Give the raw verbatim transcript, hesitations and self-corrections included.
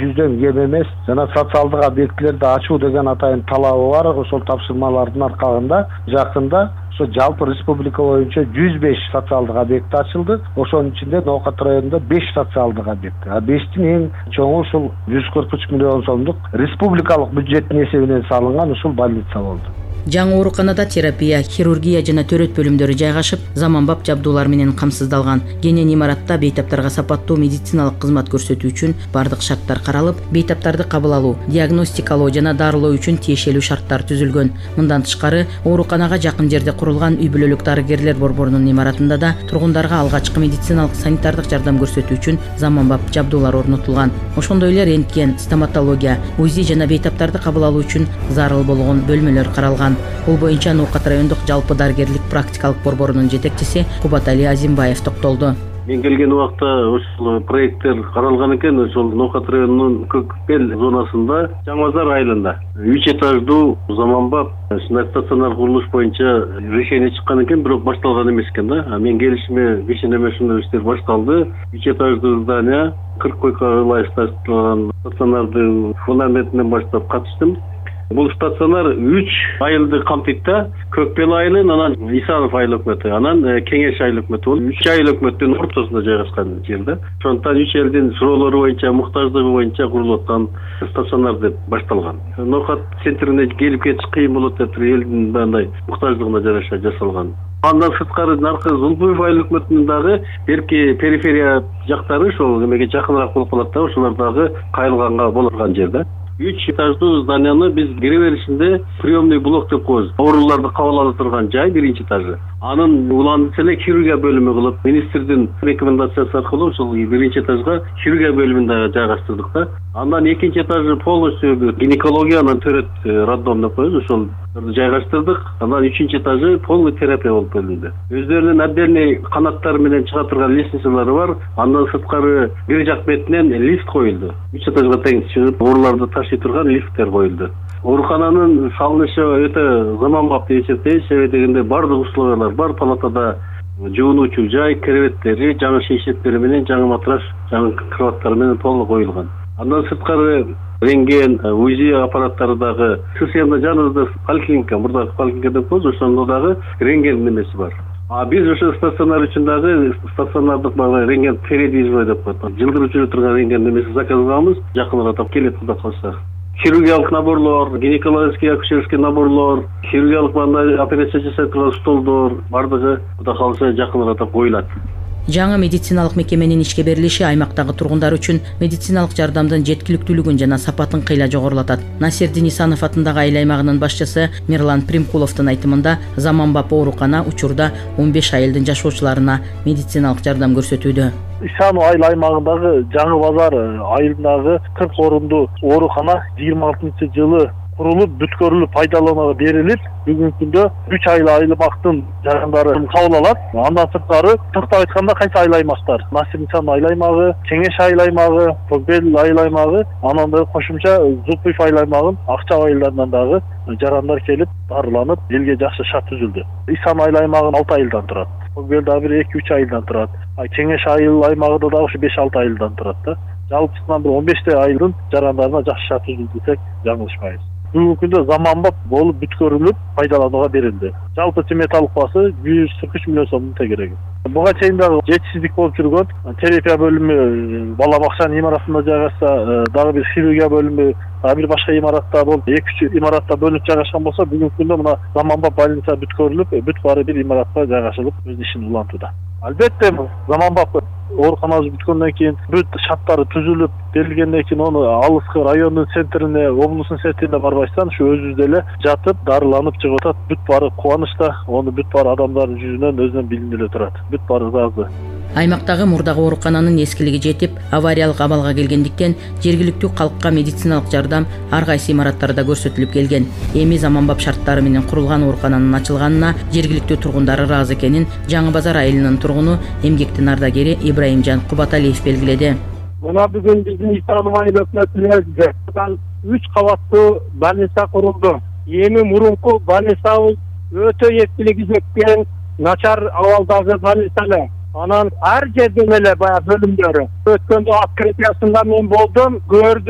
жүздөн кем эмес. Жана социалдык объектилерди ачуу деген атайын талабы бар. Ошол тапшырмалардын аркагында жакында ошо жалпы республика боюнча жүз беш социалдык объект ачылды. Ошонун ичинде Ноокат районунда беш социалдык объект. А бештин эң чоңу ушул жүз кырк үч миллион сомдук республикалык бюджеттин эсебинен салынган ушул больница болду. Жаңы ооруканада терапия, хирургия жана төрөт бөлүмдөрү жайгашып, заманбап жабдуулар менен камсыздалган. Кенен имаратта бейтаптарга сапаттуу медициналык кызмат көрсөтүү үчүн бардык шарттар каралып, бейтаптарды кабыл алуу, диагностикалоо жана дарылоо үчүн тиешелүү шарттар түзүлгөн. Мындан тышкары, ооруканага жакын жерде курулган үй бүлөлүк дарыгерлер борборунун имаратында да тургундарга алгачкы медициналык санитардык жардам көрсөтүү үчүн заманбап жабдуулар орнотулган. Ошондой эле рентген, стоматология, УЗИ жана бейтаптарды кабыл алуу үчүн зарыл болгон бөлмөлөр каралган. Бул боюнча Ноокат райондук жалпы дарыгерлик практикалык борборунун жетекчиси Кубатали Азимбаев токтолду. Мен келген убакта ушул проекттер каралган экен. Ошол Ноокат районунун Көкбел зонасында Жаңы Базар айылында үч этаждуу заманбап стационар курулуш боюнча решение чыккан экен, бирок башталган эмес экен да. Мен келишиме кечинеме ушундай иштер башталды. үч этаждуу здание кырк койкага ылайык стационардын фундаментинен баштап катыштым. Бул стационар үч айылды камтыйт да. Көкбел айылы, анан Исанов айыл өкмөтү, анан Кеңеш айыл өкмөтү. Бул үч айыл өкмөттүн ортосунда жайгашкан жерде. Ошондуктан үч элдин суроолору боюнча, муктаждыгы боюнча курулуп аткан стационар деп башталган. Ноокат центрине келип кетиш кыйын болот деп элдин мындай муктаждыгына жараша жасалган. Андан сырткары наркы Зулбуев айыл өкмөтүнүн дагы берки периферия жактары ошол эмеге жакыныраак болуп калат да, ошолор дагы кайрылганга болгон жерде. үч этаждуу зданияны биз кире беришинде приемный блок деп коебуз. Ооруларды кабыл ала турган жай биринчи этажы. Анын уландысы эле хирургия бөлүмү кылып, министрдин рекомендациясы аркылуу ошол биринчи этажга хирургия бөлүмүндө жайгаштырдык да. Андан экинчи этажы полностью гинекология, анан төрөт роддом деп коебуз, ошол жайгаштырдык. Анан үчүнчү этажы полный терапия болуп бөлүндү. Өздөрүнүн отдельный канаттары менен чыга турган лестницалары бар. Андан сырткары бир жак бетинен лифт коюлду. үч этажга тең чыгып, ооруларды ташый турган лифттер коюлду. Оорукананын салынышы өтө заманбап деп эсептейбиз. Себеби дегенде бардык условиялар бар. Палатада жуунуучу жай, креветтери, жаңы шейшектери менен, жаңы матрас, жаңы кроваттар менен толук коюлган. Андан сырткары рентген, УЗИ аппараттары дагы системада жаныбызда поликлиника, мурдагы поликлиника деп коебуз, ошондо дагы рентген немеси бар. А биз ошо стационар үчүн дагы стационардык багы рентген передвижной деп коет. Жылдырып жүрө турган рентген немеси заказ кылганбыз, жакыныраак келет кудай калса. Хирургиялык наборлор, гинекологический, акушерский наборлор, хирургиялык мындай операция жасай турган столдор бардыгы кудай калса жакыныраак коюлат. Жаңы медициналык мекеменин ишке берилиши аймактагы тургундар үчүн медициналык жардамдын жеткиликтүүлүгүн жана сапатын кыйла жогорулатат. Насирдин Исанов атындагы айыл аймагынын башчысы Мирлан Примкуловдун айтымында, заманбап оорукана учурда он беш айылдын жашоочуларына медициналык жардам көрсөтүүдө. Исанов айыл аймагындагы Жаңы Базар айылындагы кырк орундуу оорукана жыйырма алтынчы жылы курулуп, бүткөрүлүп, пайдаланууга берилип, бүгүнкү күндө үч айыл аймактын жарандары кабыл алат. Андан сырткары токтоп айтканда кайсы айыл аймактар? Насир Исанов айыл аймагы, Кеңеш айыл аймагы, Көкбел айыл аймагы, анан да кошумча Зулпуев айыл аймагын Акча айылдарынан дагы жарандар келип, дарыланып, элге жакшы шарт түзүлдү. Исанов айыл аймагы алты айылдан турат. Көкбел дагы бир эки үч айылдан турат. Кеңеш айыл аймагында дагы ушу беш алты айылдан турат да. Жалпысынан бир он беште айылдын жарандарына жакшы шарт түзүлдү десек, жаңылышпайбыз. Бүгүнкү күндө заманбап болуп бүткөрүлүп пайдаланууга берилди. Жалпы сметалык баасы жүз кырк үч миллион сомдун тегереги. Буга чейин дагы жетишсиздик болуп жүргөн, терапия бөлүмү бала бакчанын имаратында жайгашса, дагы бир хирургия бөлүмү, дагы бир башка имаратта болуп, эки үч имаратта бөлүнүп жайгашкан болсо, бүгүнкү күндө мына заманбап больница бүткөрүлүп, бүт баары бир имаратка жайгашылып, өз ишин улантууда. Албетте, заманбап ооруканабыз бүткөндөн кийин бүт шарттары түзүлүп берилгенден кийин ону алыскы райондун центрине, облустун центрине барбайсыздан ушу өзүбүздө эле жатып, дарыланып чыгып атат. Бүт баары кубанычта, ону бүт баары адамдардын жүзүнөн өзүнөн билинип эле турат. Бүт баары ыраазы. Аймактагы мурдагы оорукананын эскилиги жетип, авариялык абалга келгендиктен жергиликтүү калкка медициналык жардам ар кайсы имараттарда көрсөтүлүп келген. Эми заманбап шарттары менен курулган оорукананын ачылганына жергиликтүү тургундар ыраазы экенин Жаңы Базар айылынын тургуну, эмгектин ардагери Ибраимжан Кубаталиев белгиледи. Мына бүгүн биздин Исанов айыл өкмөтүнө үч кабаттуу больница курулду. Эми мурунку больницабыз өтө эскилиги жеткен, начар абалдагы больница эле. Анан ар жерден эле баягы бөлүмдөрү. Өткөндө открытиясында мен болдум, көрдүм.